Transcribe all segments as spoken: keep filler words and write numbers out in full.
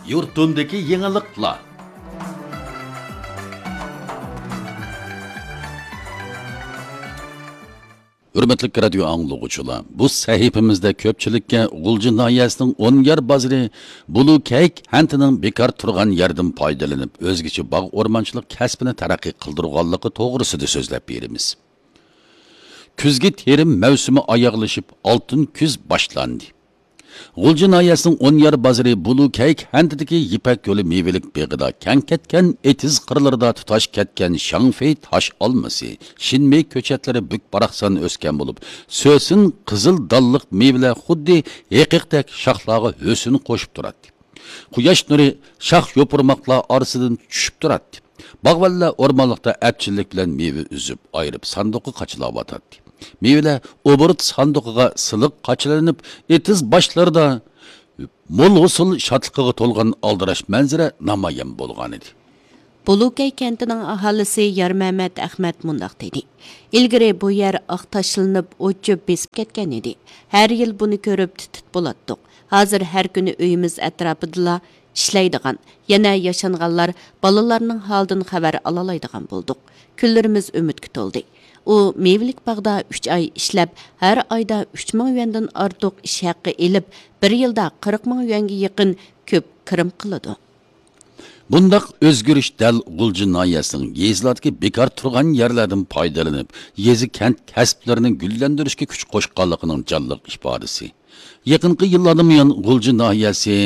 يۇرتۇمدىكى يېڭىلىقلار. ھۆرمەتلىك رادىيو ئاڭلىغۇچىلار، بۇ سەھىپىمىزدە كۆپچىلىككە غۇلجا ناھىيەسىنىڭ ئونيار بازىرى بۇلۇ كەي كەنتىنىڭ بىكار تۇرغان يەردىن پايدىلىنىپ، ئۆزگىچە باغ ئورمانچىلىق كەسپىنى تەرەققىي قىلدۇرغانلىقى توغرىسىدا سۆزلەپ بېرىمىز. كۈزگى تېرىم مەۋسۇمى ئاياغلىشىپ، ئالتۇن كۈز باشلاندى. غۇلجا ناھىيەسىنىڭ ئونيار بازىرى بۇلۇ كەي كەنتىدىكى يىپەك يولى مېۋىلىك بېغىدا كەڭ كەتكەن ئېتىز قىرلىرىدا تۇتاش كەتكەن شاڭفېي تاش ئالمىسى، شىنمېي كۆچەتلىرى بۈك-باراقسان ئۆسكەن بولۇپ، سۆسۈن قىزىل دانلىق مېۋىلەر خۇددى ھېقىقتەك شاخلارغا ھۆسن قوشۇپ تۇراتتى. قۇياش نۇرى شاخ يوپۇرماقلار ئارىسىدىن چۈشۈپ تۇراتتى. باغۋەنلەر ئورمانلىقتا ئەپچىللىك بىلەن مېۋە ئۈزۈپ، ئايرىپ ساندۇققا قاچىلاۋاتاتتى. مېۋىلەر ئوبوروت ساندۇقىغا سىلىق قاچىلىنىپ، ئېتىز باشلىرىدا مول ھوسۇل شادلىقىغا تولغان ئالدىراش مەنزىرە نامايان بولغانىدى. بۇلۇكەي كەنتىنىڭ ئاھالىسى يارمەمەت ئەخمەت مۇنداق دېدى: ئىلگىرى بۇ يەر ئاق تاشلىنىپ، ئوت-چۆپ بېسىپ كەتكەن ئىدى. ھەر يىل بۇنى كۆرۈپ تىت-تىت بولاتتۇق. ھازىر ھەر كۈنى ئۆيىمىز ئەتراپىدىلا ئىشلەيدىغان، يەنە ياشانغانلار بالىلارنىڭ ھالىدىن خەۋەر ئالالايدىغان بولدۇق. كۈنلىرىمىز ئۈمىدكە تولدى. ئۇ مېۋىلىك باغدا ئۈچ ئاي ئىشلەپ، ھەر ئايدا ئۈچ مىڭ يۈەندىن ئارتۇق ئىش ھەققى ئېلىپ، بىر يىلدا قىرىق مىڭ يۈەنگە يېقىن كۆپ كىرىم قىلىدۇ. بۇنداق ئۆزگىرىش دەل غۇلجا ناھىيەسىنىڭ يېزىلاردىكى بىكار تۇرغان يەرلەردىن پايدىلىنىپ، يېزا، كەنت كەسىپلىرىنى گۈللەندۈرۈشكە كۈچ قوشقانلىقىنىڭ جانلىق ئىپادىسى. يېقىنقى يىللاردىن بۇيان غۇلجا ناھىيەسى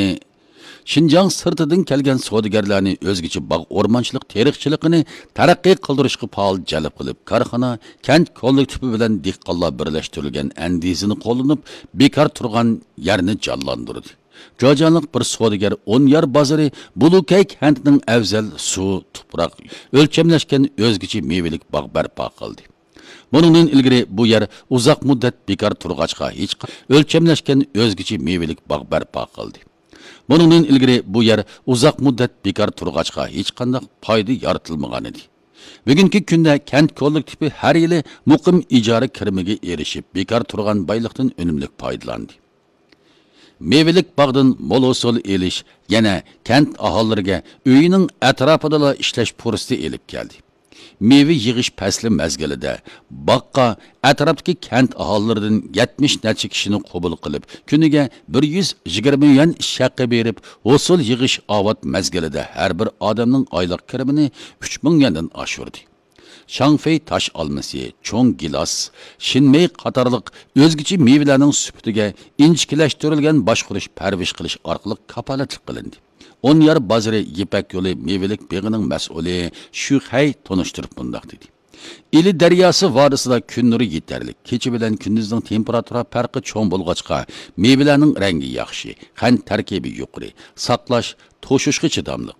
شىنجاڭ سىرتىدىن كەلگەن سودىگەرلەرنى ئۆزگىچە باغ ئورمانچىلىق تېرىقچىلىقىنى تەرەققىي قىلدۇرۇشقا پائال جەلپ قىلىپ، كارخانا، كەنت كوللېكتىپى بىلەن دېھقانلار بىرلەشتۈرۈلگەن ئەندىزىنى قوللىنىپ، بىكار تۇرغان يەرنى جانلاندۇردى. جاجانلىق بىر سودىگەر ئونيار بازىرى بۇلۇكەي كەنتىنىڭ ئەۋزەل سۇ، تۇپراق، ئۆلچەملەشكەن ئۆزگىچە مېۋىلىك باغ بەرپا قىلدى. بۇنىڭدىن ئىلگىرى بۇ يەر ئۇزاق مۇددەت بىكار تۇرغاچقا ھېچ ئۆلچەملەشكەن ئۆزگىچە مېۋىلىك باغ بەرپا قىلدى. بۇنىڭدىن ئىلگىرى بۇ يەر ئۇزاق مۇددەت بىكار تۇرغاچقا ھېچقانداق پايدا يارىتىلمىغانىدى. بۈگۈنكى كۈندە كەنت كوللېكتىپى ھەر يىلى مۇقىم ئىجارە كىرىمىگە ئېرىشىپ، بىكار تۇرغان بايلىقتىن ئۈنۈملۈك پايدىلاندى. مېۋىلىك باغدىن مول ھوسۇل ئېلىش يەنە كەنت ئاھالىلىرىگە ئۆيىنىڭ ئەتراپىدىلا ئىشلەش پۇرسىتى ئېلىپ كەلدى. مېۋە يىغىش پەسلى مەزگىلىدە باغقا ئەتراپتىكى كەنت ئاھالىلىرىدىن يەتمىش نەچچە كىشىنى قوبۇل قىلىپ، كۈنىگە بىر يۈز يىگىرمە يۈەن ئىش ھەققى بېرىپ، ھوسۇل يىغىش ئاۋات مەزگىلىدە ھەر بىر ئادەمنىڭ ئايلىق كىرىمىنى ئۈچ مىڭ يۈەندىن ئاشۇردى. شاڭفېي تاش ئالمىسى، چوڭ گىلاس، شىنمېي قاتارلىق ئۆزگىچە مېۋىلەرنىڭ سۈپىتىگە ئىنچىكىلەشتۈرۈلگەن باشقۇرۇش، پەرۋىش قىلىش ئارقىلىق كاپالەتلىك قىلىندى. ئونيار بازىرى يىپەك يولى مېۋىلىك بېغىنىڭ مەسئۇلى شۈخەي تونۇشتۇرۇپ مۇنداق دېدى: ئىلى دەرياسى ۋادىسىدا كۈن نۇرى يېتەرلىك، كېچە بىلەن كۈندۈزنىڭ تېمپېراتۇرا پەرقى چوڭ بولغاچقا، مېۋىلەرنىڭ رەڭگى ياخشى، قەنت تەركىبى يۇقىرى، ساقلاش، توشۇشقا چىداملىق.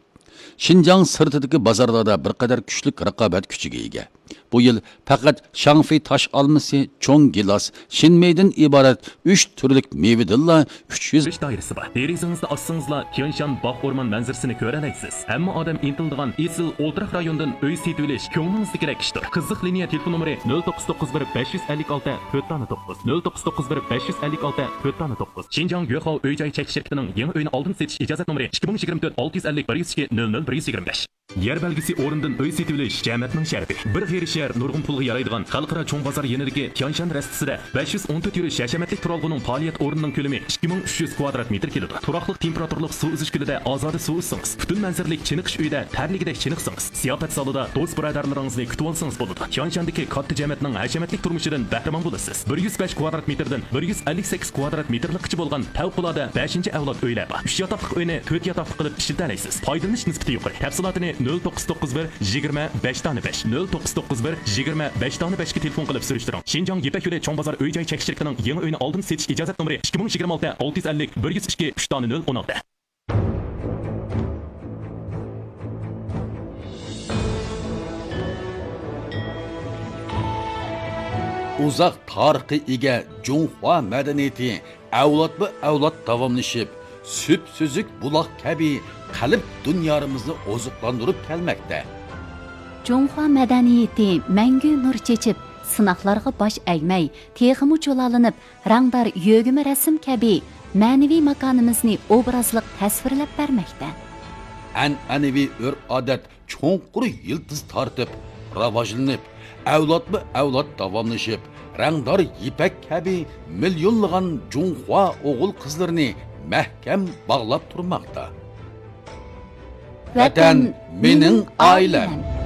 شىنجاڭ سىرتىدىكى بازارلاردا بىر قەدەر كۈچلۈك رىقابەت كۈچىگە ئىگە. بۇ يىل پەقەت شاڭفېي تاش ئالمىسى، چوڭ گىلاس، شىنمېيدىن ئىبارەت ئۈچ تۈرلۈك مېۋىدىنلا ئۈچ يۈز. دائىرىسى بار. دېرىزىڭىزنى ئاچسىڭىزلا، تيەنشان باغ ئورمان مەنزىرىسىنى كۆرەلەيسىز. ھەممە ئادەم ئىنتىلىدىغان ئېسىل ئولتۇراق رايوندىن ئۆي سېتىۋېلىش كۆڭلىڭىزدىكىدەك ئىشتۇر. قىزىق لىنىيە تېلېفون نومۇرى: نۆل توققۇز توققۇز بىر بەش يۈز ئەللىك ئالتە تۆت دانە توققۇز، نۆل توققۇز توققۇز بىر بەش يۈز ئەللىك ئالتە تۆت دانە توققۇز. شىنجاڭ يۆخاۋ ئۆي جاي چەكلىك شىركىتىنىڭ يېڭى ئۆينى ئالدىن سېتىش ئىجازەت نومۇرى: ئىككى مىڭ يىگىرمە تۆت ئالتە يۈز ئەللىك بىر يۈز ئىككى نۆل نۆل بىر يۈز يىگىرمە بەش. يەر بەلگىسى ئورنىدىن ئۆي سېتىۋېلىش جەمەتنىڭ شەرىپى. بىر غېرىب شەھەر نۇرغۇن پۇلغا يارايدىغان خەلقئارا چوڭ بازار يېنىدىكى تيانشان رەستىسىدە بەش يۈز ئون تۆت يۈرۈش ھەشەمەتلىك تۇرالغۇنىڭ پائالىيەت ئورنىنىڭ كۆلىمى ئىككى مىڭ ئۈچ يۈز كۋادرات مېتىر كېلىدۇ. تۇراقلىق تېمپېراتۇرىلىق سۇ ئۈزۈش كۆلىدە ئازادە سۇ ئۈزسىڭىز، پۈتۈن مەنزىرىلىك چېنىقىش ئۆيىدە تەرلىگۈدەك چېنىقسىڭىز، زىياپەت زالىدا دوست-بۇرادەرلىرىڭىزنى كۈتۈۋالسىڭىز بولىدۇ. تيانشاندىكى كاتتا جەمەتنىڭ ھەشەمەتلىك تۇرمۇشىدىن بەھرىمەن بولىسىز. بىر يۈز بەش كۋادرات مېتىردىن بىر يۈز ئەللىك سەككىز كۋادرات مېتىرلىكقىچە بولغان پەۋقۇلئاددە بەشىنچى ئەۋلاد ئۆيلەر بار. ئۈچ ياتاقلىق ئۆينى تۆت ياتاقلىق قىلىپ ئىشلىتەلەيسىز. پايدىلىنىش نىسبىتى يۇقىرى. تەپسىلاتىنى نۆل توققۇز توققۇز بىر يىگىرمە بەش دانە بەش، نۆل توققۇز توققۇز بىر يىگىرمە بەش دانە بەشكە تېلېفون قىلىپ سۈرۈشتۈرۈڭ. شىنجاڭ يىپەك يولى چوڭ بازار ئۆي جاي چەكلىك شىركىتىنىڭ يېڭى ئۆينى ئالدىن سېتىش ئىجازەت نومۇرى: ئىككى مىڭ يىگىرمە ئالتە ئالتە يۈز ئەللىك بىر يۈز ئىككى ئۈچ دانە نۆل ئون ئالتە. ئۇزاق تارىخقا ئىگە جۇڭخۇا مەدەنىيىتى ئەۋلادمۇ ئەۋلاد داۋاملىشىپ، سۈپسۈزۈك بۇلاق كەبى قەلب دۇنيارىمىزنى ئوزۇقلاندۇرۇپ كەلمەكتە. جۇڭخۇا مەدەنىيىتى مەڭگۈ نۇر چېچىپ، سىناقلارغا باش ئەگمەي، تېخىمۇ جۇلالىنىپ، رەڭدار يۆگىمە رەسىم كەبى مەنىۋى ماكانىمىزنى ئوبرازلىق تەسۋىرلەپ بەرمەكتە. ئەنئەنىۋى ئۆرپ-ئادەت چوڭقۇر يىلتىز تارتىپ، راۋاجلىنىپ، ئەۋلادمۇ ئەۋلاد داۋاملىشىپ، رەڭدار يىپەك كەبى مىليونلىغان جۇڭخۇا ئوغۇل-قىزلىرىنى مەھكەم باغلاپ تۇرماقتا. ۋەتەن، مېنىڭ ئائىلەم.